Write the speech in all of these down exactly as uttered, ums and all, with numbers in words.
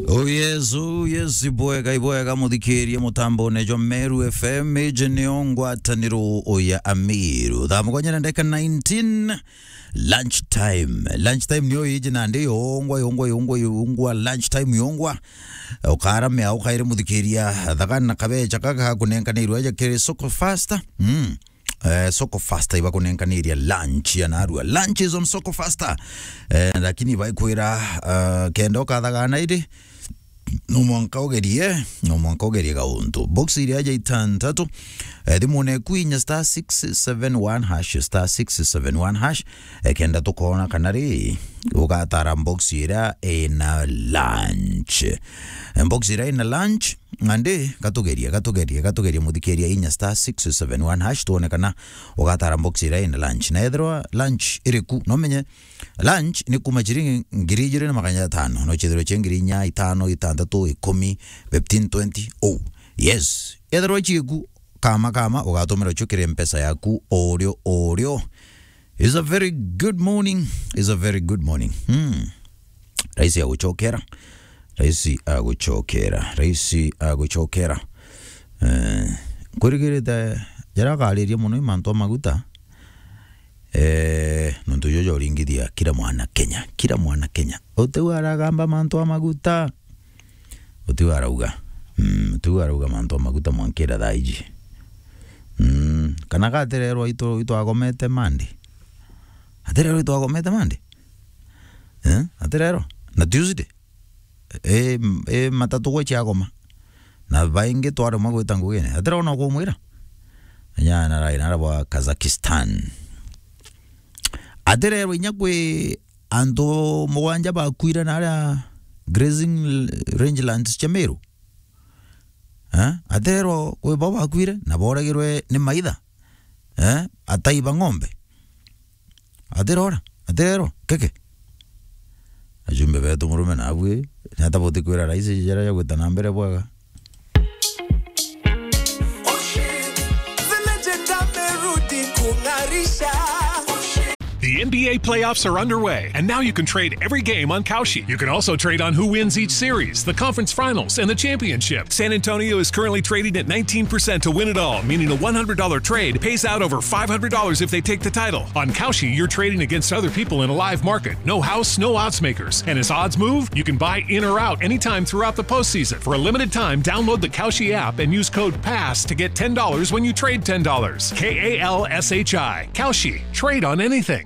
Oh yes, oh yes, ibwega, ibwega, muthikiria mutambone jwa Meru F M, iji niyo ngwataniro ya Amiru. Thaa mugwanja na ndagika nineteen, lunch time. Lunch time niyo iji nandi yongwa, yongwa, yongwa, yongwa, lunch time yongwa. Ukaramia, ukaire muthikiria, thagana na kabecha kaka gakunenkanirwe aja kiri Soko Faster. Mm. Eh, Soko Faster ibakunenkaniria lunch ya narua. Lunch is on Soko Faster. Eh, lakini baikwira, eh, kenda ukathagana iri, no mwanka ugerie, no mwanka ugerie gauntu. Box iria aja itantatu, eh, thimune ku inya star six seven one hash, star six seven one hash, eh, kenda tukona kana ri, ugatara box iria ina lunch. Eh, box iria ina lunch, Nandi, gatugerie, gatugerie, gatugerie muthikiria inya star six seven one hash, tuone kana ugatara box iria ina lunch. Na ethirwa lunch iriku, no menye lunch ni kuma ciringi ngiri ijiri na magana jatano, no cithirwe cia ngiri inya, itano, itantatu, ikumi, fifteen, twenty. Oh, yes. Ethirwa ciiku, kama, kama, ugatumira cio kiri mpesa yaku, o rio, o rio. It's a very good morning. It's a very good morning. Hmm. Raisi aguchokera. Raisi aguchokera. Raisi aguchokera. Eh, nkwirigirite jaria akariria mono i mantu a maguta. Eh, nontu jojo uringithia kila mwana Kenya. Kila mwana Kenya. Utiu aragamba mantu a maguta. Utiu arauga. Mm, utiu arauga mantu a maguta mwankira thaa iji. Mm, kana gatirerwa itu, itwagomete Monday. Atirerwa itwagomete Monday. Eh? Atirerwa. Na Tuesday. E, e matatu gwe ciagoma. Na baingi twaremwa gwita ngugine. Atirerwa no kumwira. Nyana rai nara bwa Kazakhstan. Atirerwa inya kwi antu mugwanja bakwire naria grazing rangelands cia Meru. Eh? Atirerwa kwi bo bakwire na boragirwe ni maitha. Eh? Atai ba ng'ombe. Atirora, atirerwa, keke. Ajumbe betu murume nabu, ni ata butikwira raisi jaria jagwita na mbere bwega? The N B A playoffs are underway, and now you can trade every game on Kalshi. You can also trade on who wins each series, the conference finals, and the championship. San Antonio is currently trading at nineteen percent to win it all, meaning a one hundred dollar trade pays out over five hundred dollars if they take the title. On Kalshi, you're trading against other people in a live market. No house, no odds makers. And as odds move, you can buy in or out anytime throughout the postseason. For a limited time, download the Kalshi app and use code PASS to get ten dollars when you trade ten dollars. K A L S H I. Kalshi. Trade on anything.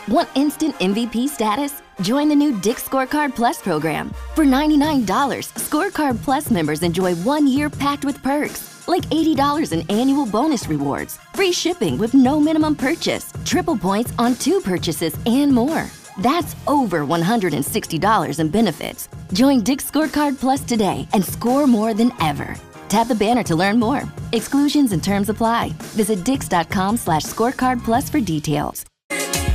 Want instant M V P status? Join the new Dick's Scorecard Plus program. For ninety-nine dollars, Scorecard Plus members enjoy one year packed with perks, like eighty dollars in annual bonus rewards, free shipping with no minimum purchase, triple points on two purchases, and more. That's over one hundred sixty dollars in benefits. Join Dick's Scorecard Plus today and score more than ever. Tap the banner to learn more. Exclusions and terms apply. Visit dicks dot com slash scorecard plus for details.